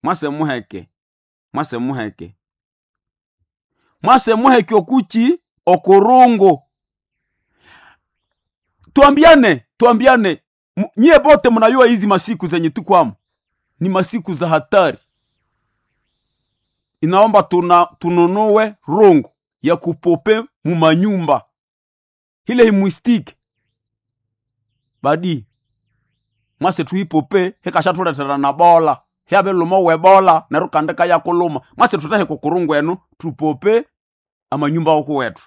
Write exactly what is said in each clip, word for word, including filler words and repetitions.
Mwase muheke, mwase muheke, mwase muheke okuchi okurungu. Tuambiane, tuambiane, nyie bote mnayua hizi masiku zenye tukwamo ni masiku za hatari. Inaomba tuna tununue rungu ya kupope mumanyumba ile imwistike badi mwase tuipope hekashatuletera na bola hyabeluma webola neryo kandi kayakuluma mwase tutahe kukurungu enu tupope amanyumba oku wetu.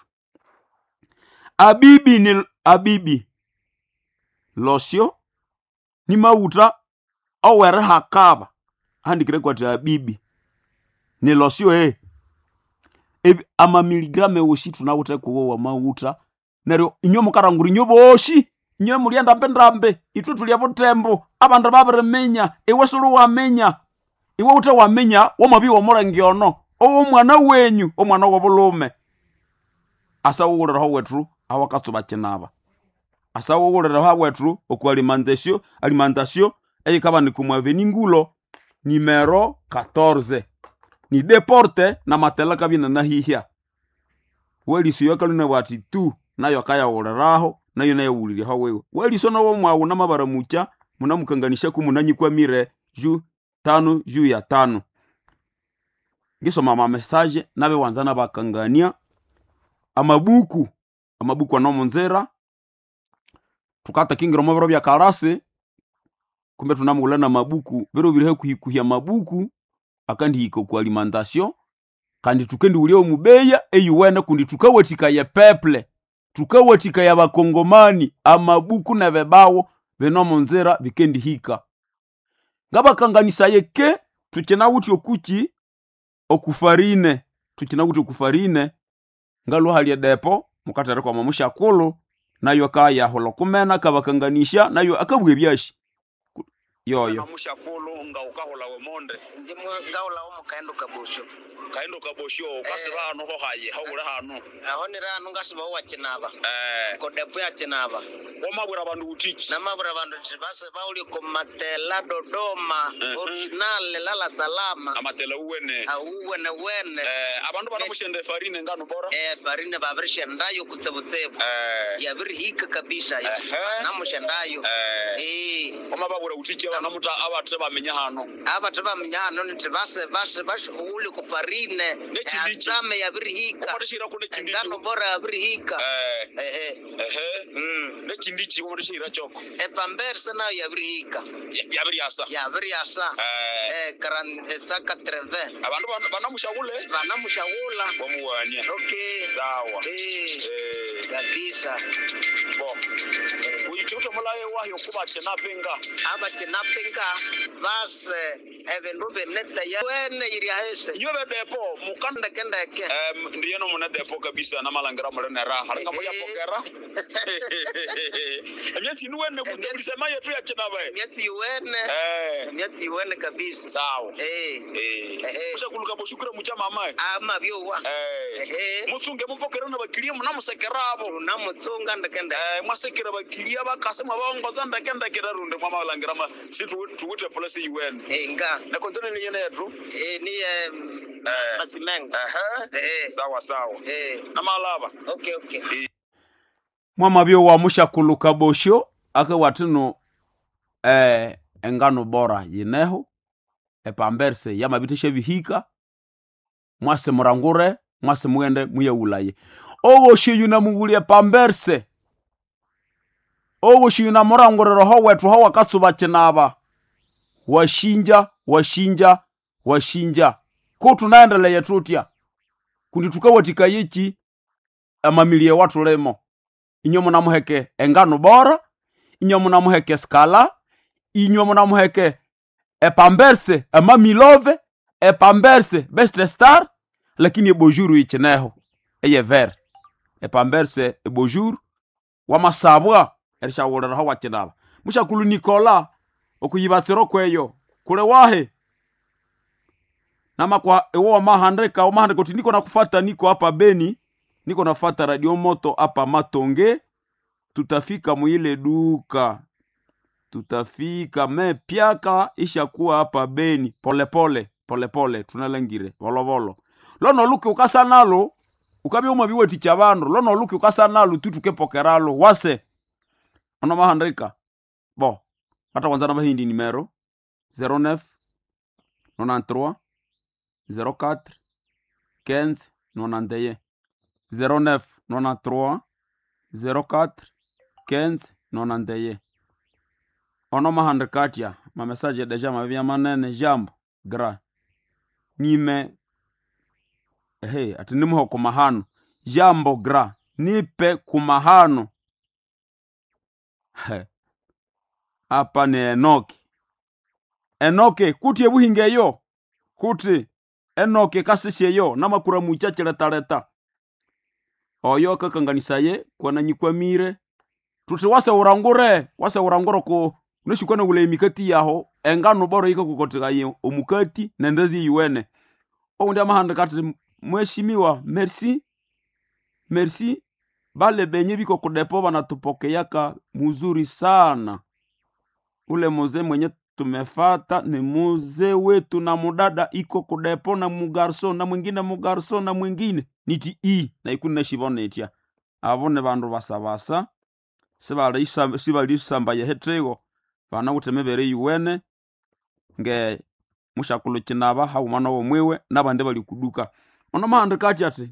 Abibi ni abibi losyo ni mauta owerihakaba handikire kwati abibi ni losyo eh Ebi- amamiligramu ewoshi tunawithe kuwo wa mawutha neryo inywe mukarangura inywe boshi inywe mulya ndambe ithwe tulya butembo abandu babiriminya iwe suli waminya iwe wuthe waminya wamabya womulenge ono owomwana wenyu omwana wobulhume asa wuwuliraho wethu awakatsuba kinaba asa wuwuliraho wethu oku alimentation alimentation eyikabanika omu avenue Ngulo nimero quatorze ni deporte na matela kabya inanahihya weliso yakaluna bwati tu nayo akayawuliraho nayo nayawuliryaho wiwe weliso nowo mwawu namabaramucha munamukanganishaku munanyikwamire ju tano juu ya tano ngisoma amamesaje nabiwanza nabakangania amabuku amabuku anomunzira tukatakingira omu biro bya kalasi kumbe tunamughulha namabuku biro biri hakuhikuhya amabuku akandihika oku alimentation kandi tukendiwulya omubeya eyuwene kundi tukawathikaya epeple tukawathikaya abakongomani amabuku nebibawo binomunzira bikendihika ngabakanganisaye ke tukinawithe okuki okufarine tukinawithe okufarine ngalwa hali edepo mukatherekwa omusyakulhu nayo akayahulha okumena akabakanganisya nayo akabugha ebyashi yoyo Namushakulu nga ukahula wemonde Ndimwe ngawulawo mukaendo kabosho kaendo kabosho ukasiba hano ho haye hawule hano aho nirano ngasibawo wakinaba eh kodepo yakinaba wamabwira abandu utiki namabwira bandu nti base bauli komatela Dodoma Mhm. original lala salama amatela uwene auwene wene eh abandu banamushenda efarine ngano bora eh farine babirishendayo kutsebutsebo eh yabirihika kabisa Ehe. namushendayo eh eh wamababwira utiki abanamuta abathe bamenya hano abathe baminya hano nti base base base uli kufarine N'ekindiki. asame yabirihika wamatishira ku nekindiki engano bora yabirihika eh ehe ehe mm. nekindiki wamatishira choko epamberse nayo yabirihika yabiryasa yabiryasa eh eh, karan- eh, saka treve abandu bana- banamushakule banamushawula wamuwania okay sawa eh, eh kabisa bo uyichuthe mulaye wahyo kuba chenapinga abakinapinga base ebindu binetaya wene iryahese inywe bedepo mukanda ndekendeke Em, ndiyeno mune depo kabisa namalangira muli neraha linga mulyapokera emyatsi inu wene kutebulisema yetu yakinaba emyatsi yuwene eh emyatsi yuwene kabisa sawa eh, eh Ehe. mushakuluka boshukura mucha mama ama byowa eh Ehe. mutsunge mupokere nabakilia munamusekerabo tunamutsunga ndekendeke eh mwasekera bakilia bakase mwabongoza ndekendekera runde mwamalangira ma situwite polisi yiwene inga nekontineni yene yetu eh, niye Eh. masimengo ehe eh, sawa sawa eh, namalaba okay okay mwamabyo wa mushakuluka bosho akawathino eh, engano bora yineho epamberse yamabitha bihika mwase murangure mwase mughende muyawulaye owoshi yunamughulya epamberse owoshi yunamurangurira ho wethu ho wakatsuba kinaba washinja washinja washinja ko tunaendeleye tutya kundi tukawathikayeki amamilie watulimo inywe munamuheke engano bora inywe munamuheke skala inywe munamuheke epamberse emamilove epamberse best star lakini ebojuru ichineho eyever epamberse ebojuru wamasabwa erishawuliraho wakinaba mushakulu nikola okuyibatsiro kweyo kule wahe namakwa iwo wamahandika wamahandika uti niko nakufata niko hapa Beni niko nafata radio moto hapa Matonge tutafika mwile duka Tutafika me pyaka ishakuwa hapa Beni polepole polepole tunalangire volovolo lono luki ukasa nalo ukabya umabiwathikya bandu lono luki ukasa nalo tutukepokeralo wase ono mahandika bo hata kwanza nabahindi nimero zero neuf nonante-trois zero quatre quinze nonante et un zero neuf nonante-trois zero quatre quinze nonante et un ono mahandika atya mamesaje deja mabya manene jambo gra nime ehe ati nimuhe kumahano jambo gra nipe kumahano. He, apa ni Enoki. Enoki kuti ebuhinga eyo kuti Enoki kasisi eyo namakura mucha chiletaleta oyo akakanganisaye kwananyikwamire tuti wase urangure wase urangure ku nishikwana ule emikati yaho engano boro ikakukotigaye omukati nendezi yiwene oundi amahandika ati mheshimiwa merci merci bale benye biko kudepo banatupokeyaka muzuri sana ule mzee mwenye tumefata ni mzee wetu na mudada iko kudepo na mugarso na mwingine mugarso na mwingine niti i na ikuni neshibona itya abo ni bandu basabasa sibalisambaye hetego banawithe emibere yuwene nge mushakulhu kinaba haghuma nowomwiwe nabandi bali kuduka. Ono mahandika ati ati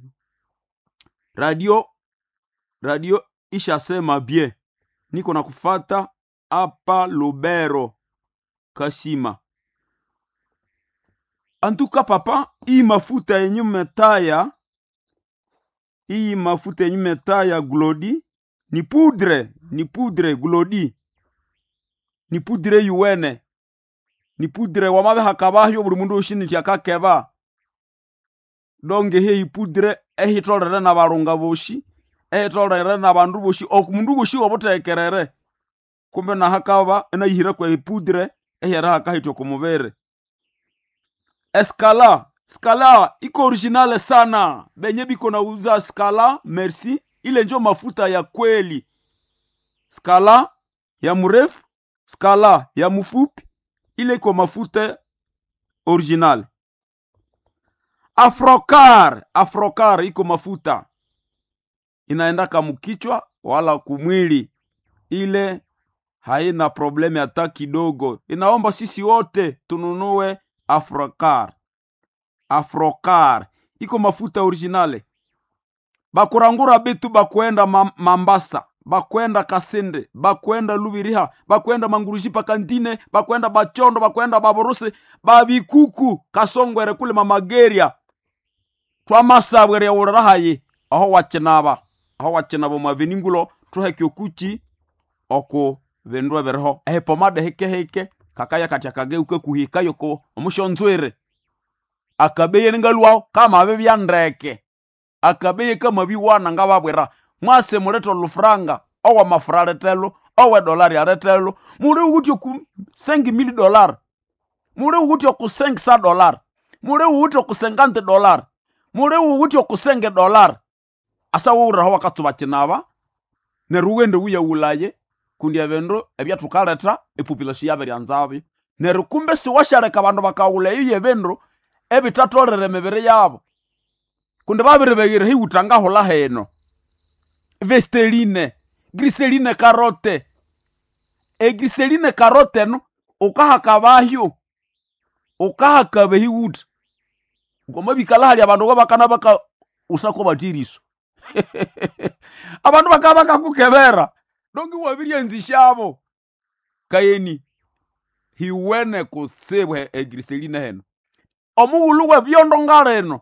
radio radio ishasema bie niko nakufata apa Lubero Kashima antuka papa iyi mafuta yenye metaya iyi mafuta yenye metaya glodi ni poudre ni poudre glodi ni poudre yuwene ni poudre wamabihakabahyo buli mundu oshi akakeba donge heyi poudre ehitolere nabalunga boshi ehitolere nabandu boshi omundu woshi obutekerere kumbe nahakaba enayihira kwe poudre ehera hakahitwa okumubiri. Eskala skala iko originale sana benye biko nauza skala merci ile njo mafuta ya kweli skala ya mrefu skala ya mfupi ile iko mafuta original. Afrocar Afrocar iko mafuta inaendaka mukichwa wala kumwili, ile haina probleme hata kidogo. Inaomba sisi wote tununue Afrocar. Afrocar iko mafuta originale. Bakurangura bitu bakwenda Mambasa, bakwenda Kasende, bakwenda Lubiriha, bakwenda Manguruji pakantine, bakwenda Bachondo, bakwenda Baborose, babikuku Kasongwere kule Mamageria twamasabwere yaulirahayi aho wakinaba aho wakinaba omwaveningulo tuheke okuki oku bindu ebiriho ehipomada hikehike kakaya kati akageuka kuhikayo ko omushonzwere akabeye ningalwaho kamabibya ndeke akabeye kamabiwana ngababwira mwase mulete olufuranga owamafura aletelo owedolari aletelo muli wuthi oku sengi mili dollar muli wuthi oku sengi sa dollar muli wuthi oku sengante dollar muli wuthi oku senge dollar asa wuraho wakatsuba kinaba neryo wughende wuyaghulaye kundi ebindu ebyathukaletha epopulation yabiryanzabyo neryo kumbe siwashaleka abandu bakaghula eyo yebindu ebithatholere emibiri yabo kundi babiribeghera hiwutha ngahulha hino vesteline griseline karote egriseline karote eno ukahakabahyo ukahakaba ehiwutha ngomabikala hali abandu ngabakana baka usako bathiriso abandu bakaba bakakukebera dongi wabiryanzishabo kayeni hiwene kutsibu egriseline heno omughulhu webyondo ngalino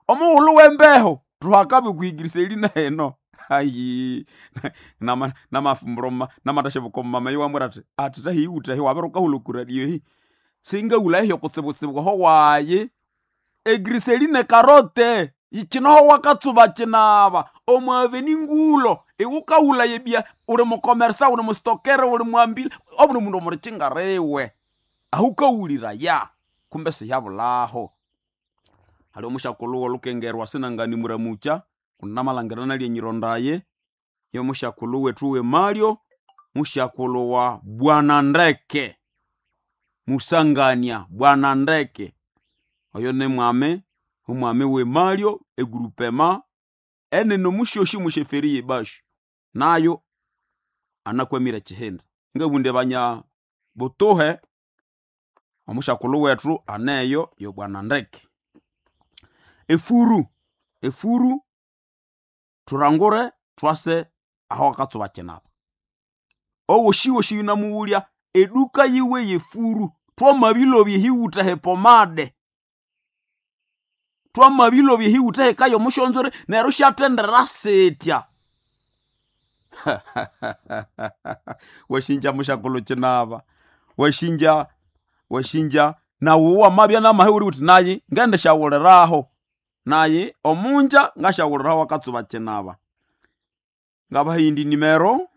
omughulhu wembeho tuhakabe kuigriseline heno ayi nama namafumburo namatashebuko mama yiwamwira ati ati tahiwutha hi wabiruka ku radio hi singaghula ehyo kutsibutsibu ho wayi egriseline karote ikinoho wakatsuba kinaba omwaveni ngulo iwukawula yebya uli mukomersa uli mustokere uli mwambile obuli mundu omulichingariwe ahukawulira ya kumbe siyabulaho hali omushakulhu wolukengerwa sinangani muramucha kundi namalangira nalye nyirondaye yomushakulhu wethu wemalyo Mushakulu wa Bwana Ndeke Musangania Bwana Ndeke oyo ni mwami omwami w'emalyo egrupema enene omusyosi musheferi yebashu nayo anakwamire ekihinda. Ngabunde banya butuhe omushakulu wethu aneyo yo Bwana Ndeke. Efuru efuru thurangure thwase aho akatsuba kinaba owoshiwoshi yunamughulya eduka yiwe yefuru twamabilobya ehiwutha hepomade twamabilobya ehiwutha hekayo omushonzore neryo syathendera sitya. Washinja mushakulu kinaba washinja washinja nawu wamabya namahe uri uthi nayi ngendishawuliraho nayi omunja ngashawuliraho akatsuba kinaba. Ngabahindi nimero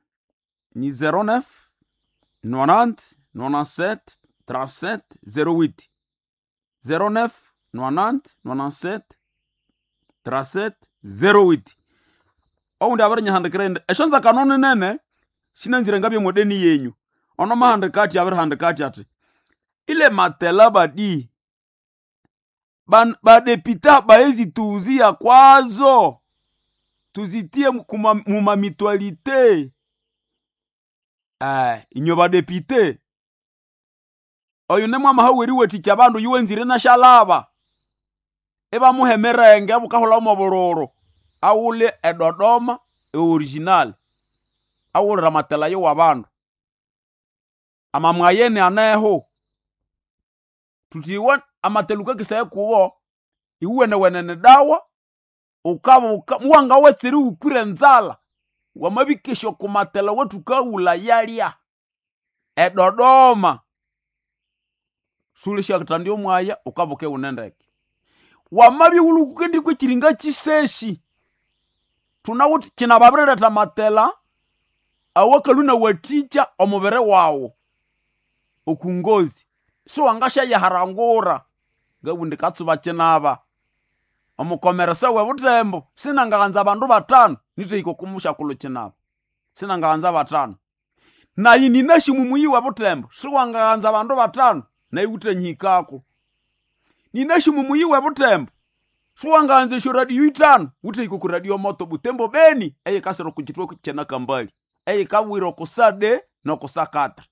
ni zero neuf nonante nonante-sept trente-sept zero huit zero neuf nonante nonante-sept trente-sept zero huit. Oundi abirinyihandikira indi esyonzakano ninene sinanzire ngabye mwedeni yenyu ono mahandika athi abirihandika athi ati ile matela badi ban- badepita baezi tuuzia kwazo tuzitie kuma- mumamitualite. Eh, inyo badepite oyu nemwamaha weriwathikya abandu yuwenzire nashalaba ibamuha emirenge bukahulha mobuluru awule edodoma eoriginal awulira amatela yo wabandu amamwayene aneho tutiwa amatela ukakisaya kuwo iwuwene-wenene dawa ukabuka muwanga wetseri wukwire enzala wamabikesha okumatela wetukaghula yalya edodoma sulishyatandya omwaya ukabuka iwune ndeke wamabya iwulukukendikwa ekiringa kisesi thunawithe kinababirilhetha amatela awakalhwa inawathikya omubiri wawu okungozi siwangasyayiharangura ngabundi katsuba kinaba omukomeresa w'ebuthembo sinangaghanza abandu bathanu nithahika okumusyakulhu kinaba sinangaghanza bathanu nayi ninasi mumuyi w'ebuthembo siwangaghanza abandu bathanu nayi wuthanyihikako ninasi mumuyi w'ebuthembo siwangaghanza esyoradio ithanu wuthahika oku radio moto Butembo Beni eyikasira oku kitwe kyenakambali eyikabwira okusade nokusakata.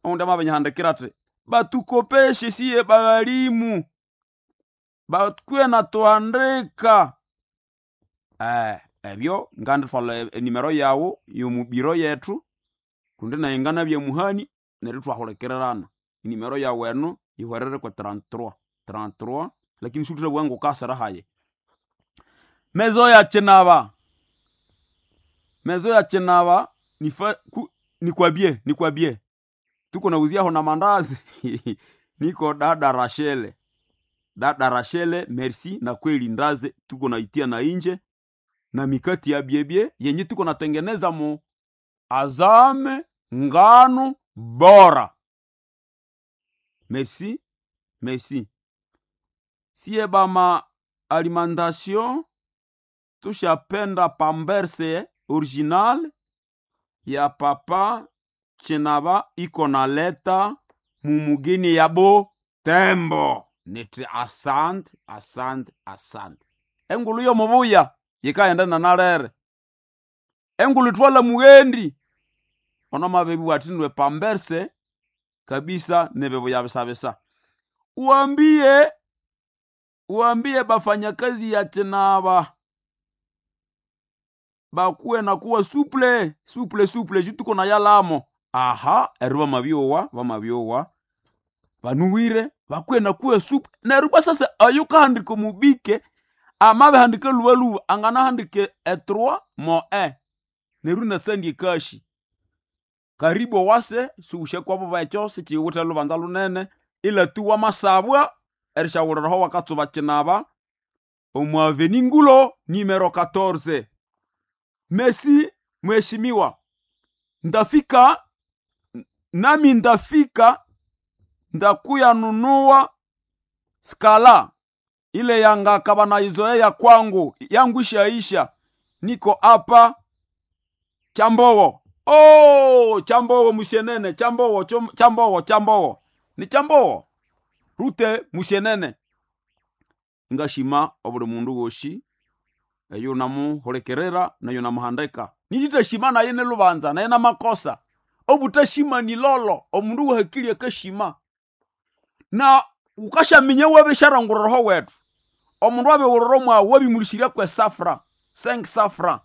Oundi amabinyihandikira athi batukopeshe siye baghalimu bakwiye natuhandika. Eh, ebyo ngandithwalha enimero yawu yomubiro yethu kundi nayi nganabya muhani neryo ithwahulikirirana enimero yawu eno yihwerere kwe trente-trois trente-trois lakini siwuthabugha ngukasira hayi. Mezo ya kinaba mezo ya kinaba nifa ku, nikwabye nikwabye tuko nauziaho na mandazi niko dada Rachele dada Rachele merci na kweli ndaze tuko naitia na inje na mikati ya byebye yenye tuko natengeneza mu azame ngano bora. Merci merci siye bama alimentation tushapenda pamberse original ya papa chinaba iko naleta mumugini yabo tembo niti asante asante asante. Engulu yomubuya yikaghenda nanalere engulu ithwala mughendi ono mabebi athi pamberse kabisa nebibuya bisabisa. Uambie uambie bafanyakazi ya chinaba bakuwe na kuwa suple suple suple ju tuko na yalamo aha eri bamabyowa bamabyowa banuwire bakuwe na kuwa suple neryo bwa sasa oyu kahandika omubike amabihandika lubaluba anganahandika e trois mo un neryo inasandya ekashi karibu owase siwushakwabo bekyo sikiwithe lubanza lunene ila tu wamasabwa erishawuliraho wakatsuba kinaba omu aveni Ngulo nimero quatorze. Mesi mheshimiwa, ndafika nami ndafika ndakuya nunua skala ile yangaka banaizoea kwangu yangu ishaisha, niko hapa Chambogo. Oh, chambowo mushenene, chambowo, chambowo, chambowo. Ni chambowo. Rute mushenene. Ngashima obuli mundu woshi eyo namuhulekerera nayo namuhandika. Nilitashima naye nelubanza naye namakosa. Obutashima ni lolo, omundu wahakili akashima. Na ukashaminya wabesharanguroroho wetu. Omundu abewuroro mwawe wabimulishirya kwe safra, cinq safra.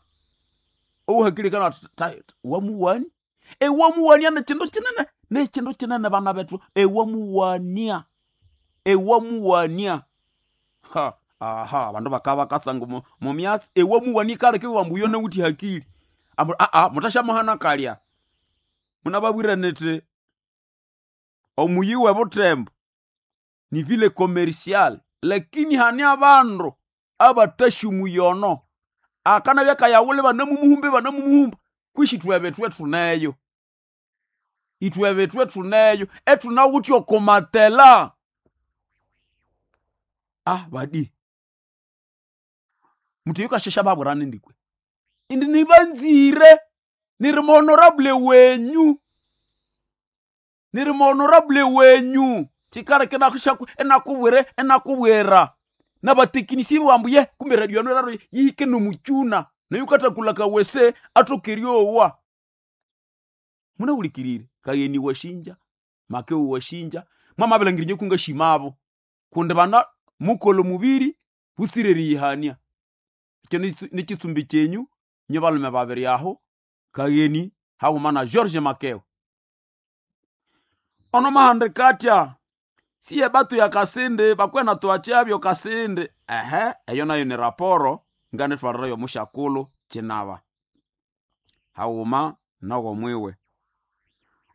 Owahakili kana wamuwani. Ewamuwania nechindu chinene, nechindu chinene bana betu. Ewamuwania. Ewamuwania. Ha, aha, bandu bakaba katsanga mu mu myatsi. Ewamuwania kale kiwa mbuyo neuti hakili. Ambu a a mutashamuhana kalya. Munababwira neti omuyi we Butembo ni vile commercial, lakini hani abandu abatashumuyono. Akana byakayawule banamumuhumbe banamumuhumba. Kwishi twebe tuneyo. Itwebe tuneyo. Etunawuti okomatela. Ah, badi. Mtu yukashesha baburane ndikwe. Indi nibanzire. Niri honorable wenyu. Niri honorable wenyu. Chikara kenakushaku enakubwere enakubwera. Nabatekinisi bambuye kumbe radio raro yihike no muchuna. Nayukatakula kawese atokeryowa. Munawulikirire kayeni washinja, makeo washinja, mama belangirinye kunga shimabo. Kunde bana mukolo mubiri busireri yihania. Ekyo nikitsumbi kyenyu nyo balume babiri aho kayeni hawumana George Makeo. Ono mahande katya siye batu ya Kasindi bakwena tuachabyo Kasindi. Ehe, eyo nayo ni raporo ngane twarirayo mushakulu chinaba. Hawuma nago mwiwe.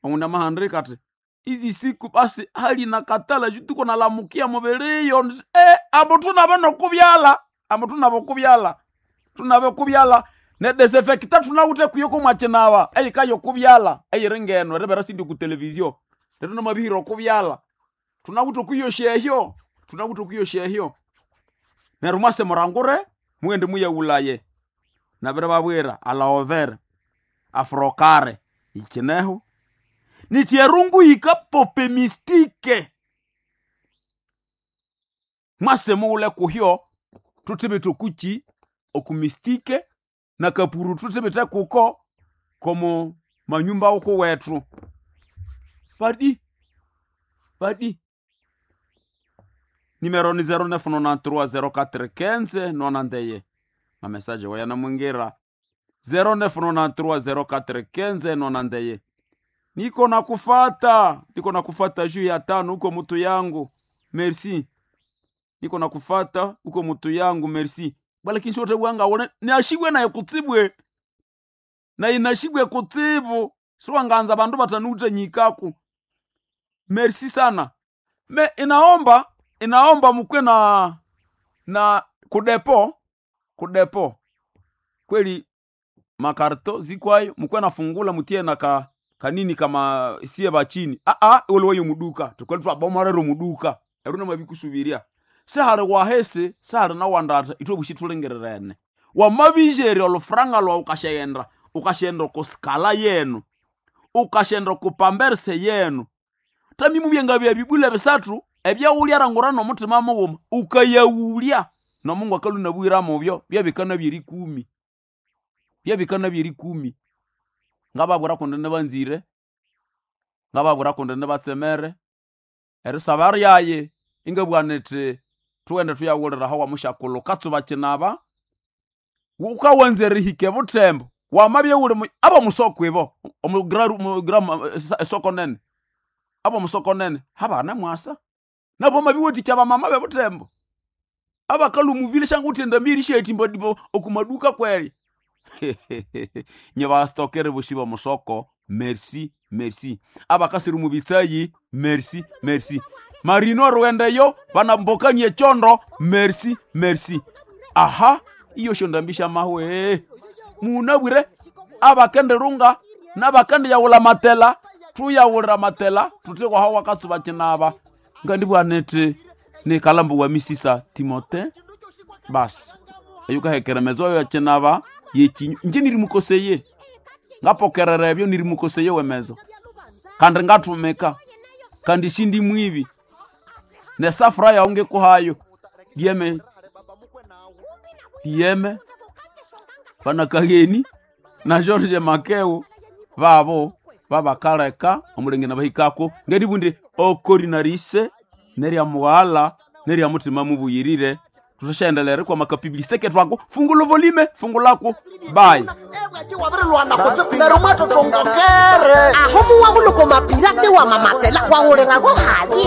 Omunda mahande kati izi siku basi hali na katala jutuko nalamukia mubiriyo. Eh, abo tunaba nokubyala. Abo tunaba kubyala. Tunabe kubyala. Ne desinfecta tunawute kuyoko mwachinawa. Eyi kayo kubyala. Eyi ringeno rebera sindi ku televizio. Leto na mabihiro kubyala. Tunawute kuyoshehyo. Tunawute kuyoshehyo. Neru mwase murangure muende muye ulaye. Nabere babwira alaover afrokare ikineho. Nitierungu ikapope mistike. Mwase muule kuhyo tutibite kuchi okumistike na kapuru tutibite kuko komo manyumba uko wetu. Badi badi Numero ni zero neuf quatre-vingt-treize zéro quatre quinze nonante. Ma message waya na mwingira zéro neuf quatre-vingt-treize zéro quatre quinze nonante. Niko nakufata, niko nakufata juu ya tano huko mtu yangu. Merci. Niko nakufata huko mtu yangu, merci. Bala kinshi wote wanga wone ni ashibwe na kutibwe. Na inashibwe kutibu. Siwanganza bandu batanute nyikaku. Merci sana. Me inaomba inaomba mkwe na na kudepo kudepo kweli makarto zikwayo mkwe nafungula mutie na ka kanini kama siye bachini a a ole wayo muduka tukwali twabomorero muduka eruna mabikusubiria sehale wahese sehale na wandata itwe bushitulengererene wamabijeri olufranga lwa ukashenda ukashenda kuskala yenu ukashenda kupamberse yenu tamimu byenga bya bibula bisatu ebyawulya nomutima mughuma ukayawulya nomungu akalunabwira mubyo byabikana byerikumi byabikana byerikumi ngababwira kundi nibanzire ngababwira kundi nibatsemere erisaba ryaye ingabwana niti tughende tuyawulira aho wamushakulu katsuba kinaba wukawanza erihika ebuthembo wamabya wuli abomusoko ibo omugra esoko nene abomusoko nene habana mwasa nabo mabiwathikya abamama bebuthembo abakalhumuvile shanguthi endamiri syetimba dibo okumaduka kweri nyebastokere boshi bomusoko merci merci abakasiri mubitsayi merci merci marino rwendeyo banambokanie chondo merci merci aha iyo shondambisha mahwe munabwire abakenderunga nabakendiyawula matela tuyawulira matela tutekwa hawa wakatsuba kinaba ngandibwanete nikalambu wa misisa timote basi eyukahekera mezo yo kinaba yekinyu nje nirimukoseye Ngapokerera ebyo nirimukoseyo wemezo kandi ngathumika kandi sindi mwibi nesafura yawu ngikuhayo dieme dieme banakageni na George Makeo babo babakaleka omulenge nabahikako ngeribundi okorinarise nerya mughala nerya mutima mubuyirire tushaendelere kwa makapibiliseke twako fungula volume fungulako bye. Wabirilwana kutsibu neryo mwatotongokere Aho muwahuluko mapirate wa mamatela wahulirago haye.